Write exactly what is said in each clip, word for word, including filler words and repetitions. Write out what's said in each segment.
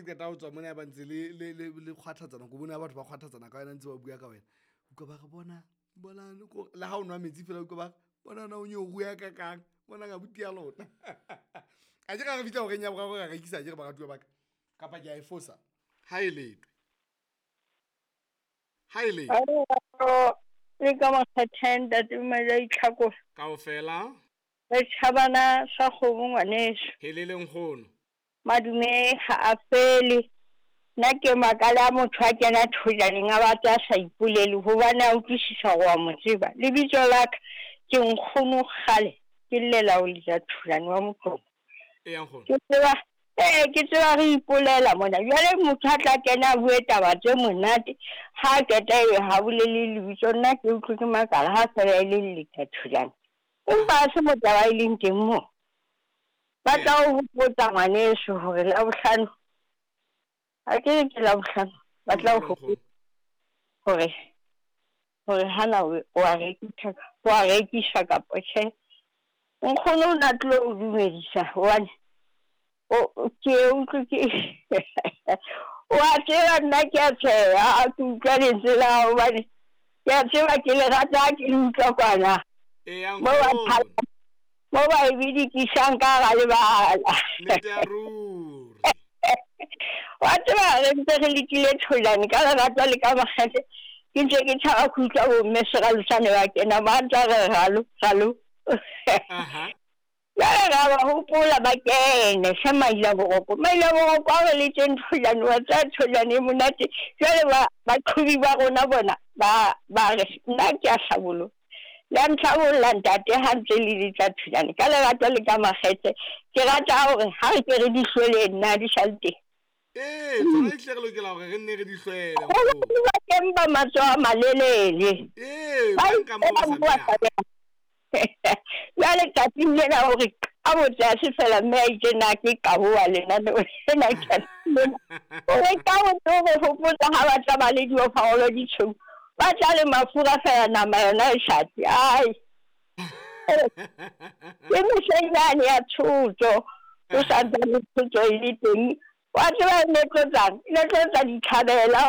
ke qeta ho tswa mona ba ntse le le le le kgwathatsana, ko bona batho ba kgwathatsana ka wena ntse ba bua ka wena. Utlwa ba re bona bona le ha o nwa metsi fela utlwa ba re bona na o nyoru ya ka kang, bona ka buti ya lona. A ke re fihla horeng ya boraro ra rekisa ke re baratuwa ba ka. Kapa ke a e fosa. Ha e letwe. Ha e letwe. Le ka makgethe ntate Maja Itlhako. Kaofela. Re tjhabana sa kgomo ngwaneso. Helele nkgono. Madume ha a fele. Nna ke makala motho a kena thojaneng a batla a sa ipolele hobane a utlwisisa hore wa mo tseba. Lebitso la ka ke nkgono kgale ke llela ho letsa thojane wa Moqomo. Eya nkgono. Ke tseba eh ke tseba re ipolela mona. Jwale motho a tla kena a bue taba tse monate ha qeta ebe ha bolele lebitso, nna ke utlwe ke makala ha fela e le letsa thojane. Empa ha se mo taba e leng teng moo. Ba tla o hopotsa ngwaneso hore Labohlano ha ke re ke Labohlano ba tla o hopotsa hore hore hana o a rekisa o a rekisa kapa tjhe. Nkgono o na tlo o dumedisa hobane o ke utlwe ke wa tseba nna ke a tsheha ke utlwa lentswe la hao hobane ke a tseba ke le rata ha ke le utlwa kwana. Eya Mo ba nkgono. mo ba e bidikisang ka hara lebala. Nnete ya ruri. Wa tseba re ntse re lekile tholane ka lerato le ka makgethe. Ke ntse ke tshaba ho utlwa bo mme Seralosane ba kena ba ntsa re ralo ralo. Aha. Jwale ra ba hopola ba kene hle Maila Boroko. Maila Boroko a re letseng tholane wa tseba tholane e monate. Jwale ba baqhobi ba rona bona ba ba re nna ke a hlaboloha. Le a ntlhabolla ntate ha ntse le letsa thojane ka lerato le ka makgethe. Ke rata hore ha re ke re di hlwele nna di sa le teng. Ee, tsona ehlile re lokela hore re nne re di hlwele Hobane nkgono. ba teng ba matsoho a malelele. Ee, Ba ba nka moo ba ipela sa moo ba behang. sa behang. Jwale tsatsing lena hore a botse ha se fela mme a itse na ke qaboha lenaneo lena ke a lena. Hore ka botse o re hopotsa ha ba tla ba le diofarolo di tshweu. Ba tla le mafura fela nama yona e hlatse. Ai. Ke mehleng yane ya tshotso. O sa ntsane tshotso e le teng. Wa tseba e ne tlotsang? E ne tlotsa ditlhabela.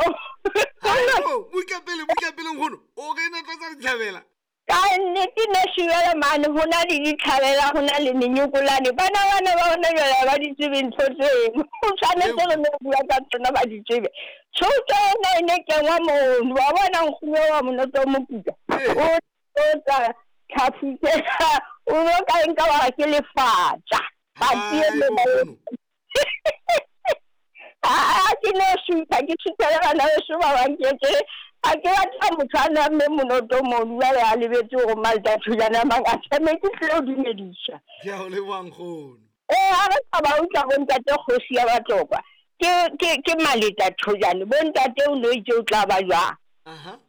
Haebo, buka pele, buka pele nkgono. O re e ne tlotsa ditlhabela? Ka nnete ne shibela mane ho na le ditlhabela, ho na le menyokolane. Bana bana ba hona jwale ha ba di tsebe ntho tseno. O tshwanetse re no bua ka tsona ba di tsebe. Tshotso ena e ne kengwa mono. Wa bona nkgono wa Monoto Mokuka. Ee. O tlotsa tlhafu tsena. O no ka nka wa re ke lefatša. Patsi e Haebo nkgono. Ah, ke no sutha, ke suthela bana beso ba bang ke ke ha ke batla motho a namme monoto mono jwale a lebetse hore Malta thojana a mangata mme ke tlilo dumedisa. Ke a o leboha nkgono. Ee, ha re sa ba utlwa bo ntate kgosi ya Batlokwa. Ke ke ke Maleta thojane. Bo ntate o no itse o tla ba jwang. Aha.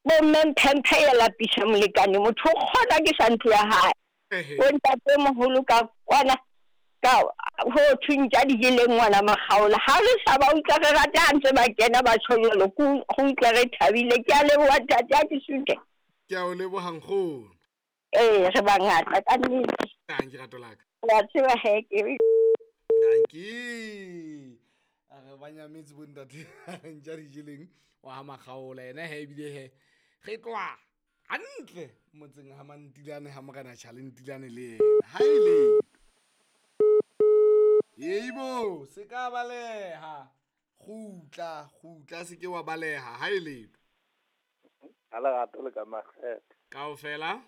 Bo mme Mphemphe ya lapisa molekane motho o kgona ke sa ntlo ya hae. Ehe. Bo ntate moholo ka kwana ka ho thweng tja di jeleng ngwana Makgaola. Ha re sa ba utlwa re rata ha ntse ba kena ba tjho jwalo, ke go utlwa re thabile. Ke a leboha ntate ha ke suthe. Ke a o leboha nkgono. Ee, re bangata ka nnete. Dankie rato la ka. Wa tseba he ke Dankie. A re ba nyametse bo ntate ntja di jeleng wa ha Makgaola yena he ebile he re tloha hantle motseng ha Mantilane ha Morena Tjhale Ntilane le yena. Ha e le Yebo, se ka baleha. Kgutla, kgutla se ke wa baleha ha e letho. Ha lerato le ka makgethe. Kaofela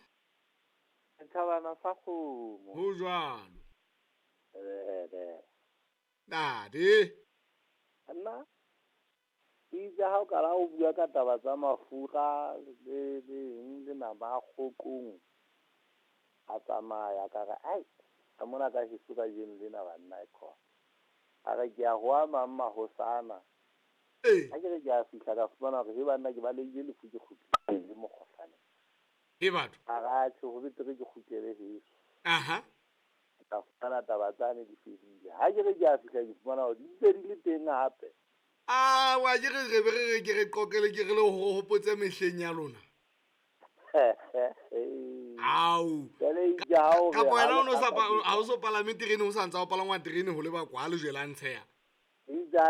Setjhabana sa kgomo. ho jwalo. Eh, Ntate. Nna itse ha o kala o bua ka taba tsa mafura le le eng le nama a kgokong a tsamaya ka re ai ka mona ka heso kajeno lena banna e khona. A re ke a ho a mang mahosana. Ee. Ha ke re ke a fihla ka fumana hore he banna ke balehile lefu ke kgutlile mokgohlane. He batho. A re atjhe ho betere ke kgutlele heso. Aha. Ka fumana taba tsane di fedile. Ha ke re ke a fihla ke fumana hore di ntse di le teng hape. Ah, wa ke re re be re re ke re qoqele ke re le ho hopotse mehleng ya lona. Au. Jwale itse ha o re Kapa wena ha o no le sa pa- aka ha o so palame terene o sa ntsa o palangwa terene ho leba kwa lejwe la Ntsheya. Itse ha